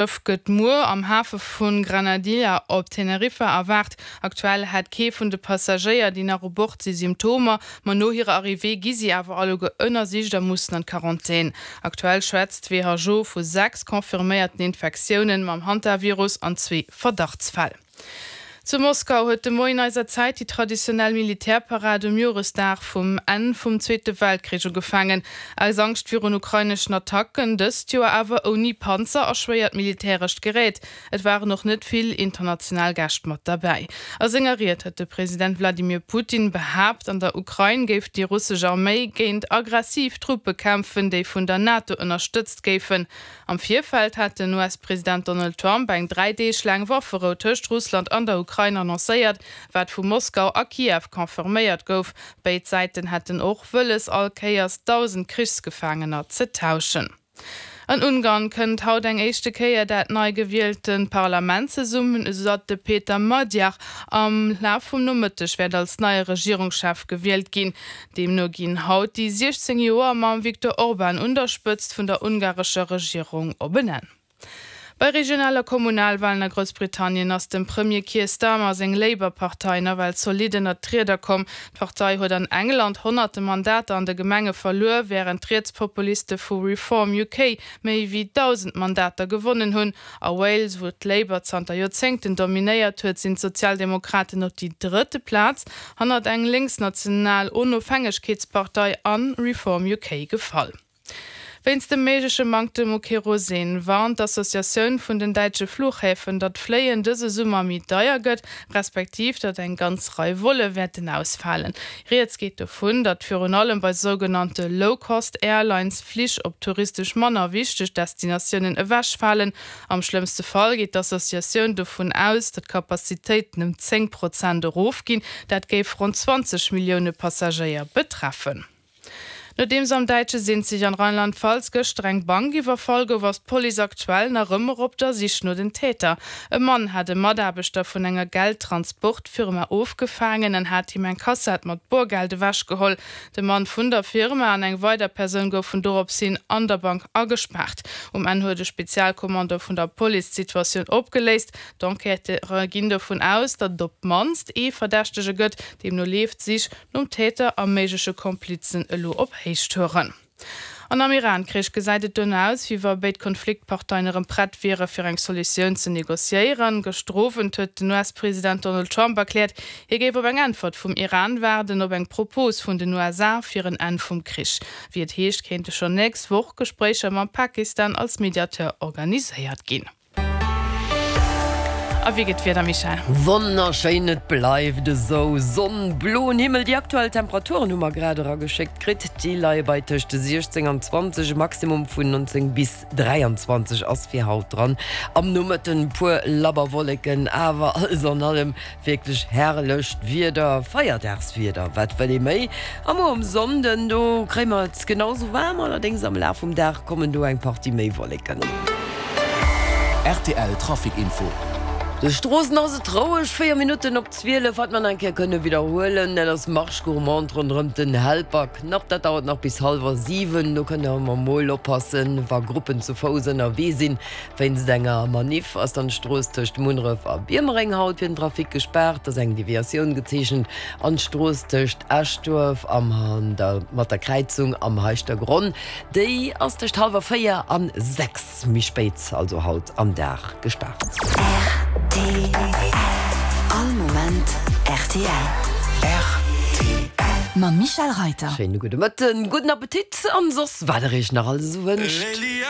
D'Schëff gëtt muer am Hafe vu Granadilla op Teneriffa erwaart. Aktuell hätt kee vun de Passagéier, déi nach u Bord si, Symptomer, ma no hirer Arrivée gi si awer alleguer ënnersicht a mussen an d'Quarantän. Aktuell schwätzt d'WHO vu 6 confirméierten Infektiounen mam Hantavirus an zwee Verdachtsfäll. Zu Moskau huet de Moien eiser Zäit déi traditionell Militärparad um Joresdag vum Enn vum Zweete Weltkrich ugefaangen. Aus Angscht virun ukraineschen Attacken, dëst Joer awer ouni Panzer a schwéiert militärescht Gerät. Et waren och net vill international Gäscht mat derbäi. A senger Ried huet de President Wladimir Putin behaapt, an der Ukrain géif déi russesch Arméi géint aggressiv Truppe kämpfen, déi vun der NATO ënnerstëtzt géifen. Am Virfeld hat den US-President Donald Trump eng 3 Deeg laang Wafferou tëscht Russland an der Ukrain annoncéiert, wat vu Moskau a Kiew confirméiert gouf. Béid Säiten hätten och wëlles, all Kéiers 1.000 Krichsgefaangener ze tauschen. An Ungarn kënnt haut eng éischte Kéier dat nei gewielte Parlament zesummen, esou datt de Peter Magyar am Laf vum Nomëtteg wäert als neie Regierungschef gewielt ginn. Deemno ginn haut déi 16 Joer mam Viktor Orban un der Spëtzt vun der ungarescher Regierung op en Enn. Bei Regional a Kommunalwalen a Groussbritannien ass dem Premier Keir Starmer seng Labour-Partei nawell zolidd ënnert d'Rieder komm. D'Partei huet an England honnerte Mandater an de Gemenge verluer, wärend d'Rietspopuliste vu Reform UK méi wéi 1.000 Mandater gewonnen hunn. A Wales, wou d'Labour zanter Joerzéngten dominéiert huet, sinn d'Sozialdemokraten op déi drëtte Plaz, hannert eng lénksnational Onofhängegkeetspartei an Reform UK gefall. Wéinst dem méigleche Manktem u Kerosin warnt d'Associatioun vun den däitsche Fluchhäfen, datt d'Fléien dëse Summer méi deier gëtt, respektiv datt eng ganz Rei Volle wäerten ausfalen. Rieds geet dovun, datt virun allem bei sougenannte Low-Cost-Airlines Flich op touristesch manner wichteg Destinatiounen ewechfalen. Am schlëmmste Fall geet d'Associatioun dovun aus, datt d'Capacitéiten ëm 10 Prozent erofginn. Dat géif ronn 20 Millioune Passagéier betreffen. Nodeems am däitsche Sinzig an Rheinland-Pfalz gëschter eng Bank iwwerfall gouf, ass d'Police aktuell nach ëmmer op der Sich no den Täter. E Mann hat e Mataarbechter vun enger Geldtransportfirma ofgefaangen an hat him eng Kassett mat Borgeld ewechgeholl. De Mann vun der Firma an eng weider Persoun goufen dorops hin an der Bank agespaart. Um Enn huet e Spezialkommando vun der Police d'Situatioun opgeléist. D'Enquêteure ginn dovun aus, datt et op d'mannst ee Verdächtege gëtt. Deemno leeft d'Sich nom Täter a méigleche Komplizen elo op Héichtouren. An am Iran-Krich gesäit et dono aus, wéi wa béid Konfliktparteien erëm prett wiere fir eng Solutioun ze negociéieren. Gëschter Owend huet den US-President Donald Trump erkläert, hie géif op eng Äntwert vum Iran waarden, op eng Propos vun den USA fir en Enn vum Krich. Wéi et heescht, kéinte schonn nächst Woch Gespréicher mam Pakistan als Mediateur organiséiert ginn. A wéi gëtt d'Wieder, Michèle? Wonnerschéin, et bleift esou, Sonn, bloen Himmel. Déi aktuell Temperaturen hu mer grad erageschéckt kritt, déi leie bei tëscht 16 an 20, e Maximum vun 19 bis 23 ass fir haut dran. Am Nomëtten e puer labber Wolleken, awer alles an allem Wierklech herrlecht Wieder, Feierdagswieder, wat wëll ee méi? A muer um Sonnden, do kréie mer et genau sou waarm, allerdéngs am Laf vum Dag kommen do eng Partie méi Wolleken. Rtl Trafic Info. De Stroossen ass et roueg, 4 Minutten op 12. Wat mer nach eng Kéier kënne widderhuelen, dat ass Marche gourmande ronderëm den Helperknapp. Dat dauert nach bis hallwer 7. Do kënnt der ëmmer mol oppassen, wa Gruppen zu Fouss ënnerwee sinn. Wéinst enger Maniff ass dann d'Strooss tëscht Munneref a Biermereng haut fir den Trafic gespaart. Et ass eng Deviatioun gezeechent an d'Strooss tëscht Eschduerf am der mat der Kräizung am Heischtergronn, déi ass tëscht hallwer 4 an 6 méi spéit, also haut am Dag, gespaart. Rtl, All Moment rtl. Rtl. Mam Michèle Reiter. Schéine gudde Mëtten, gudden Appetit an soss wat der iech nach alles esou wënscht.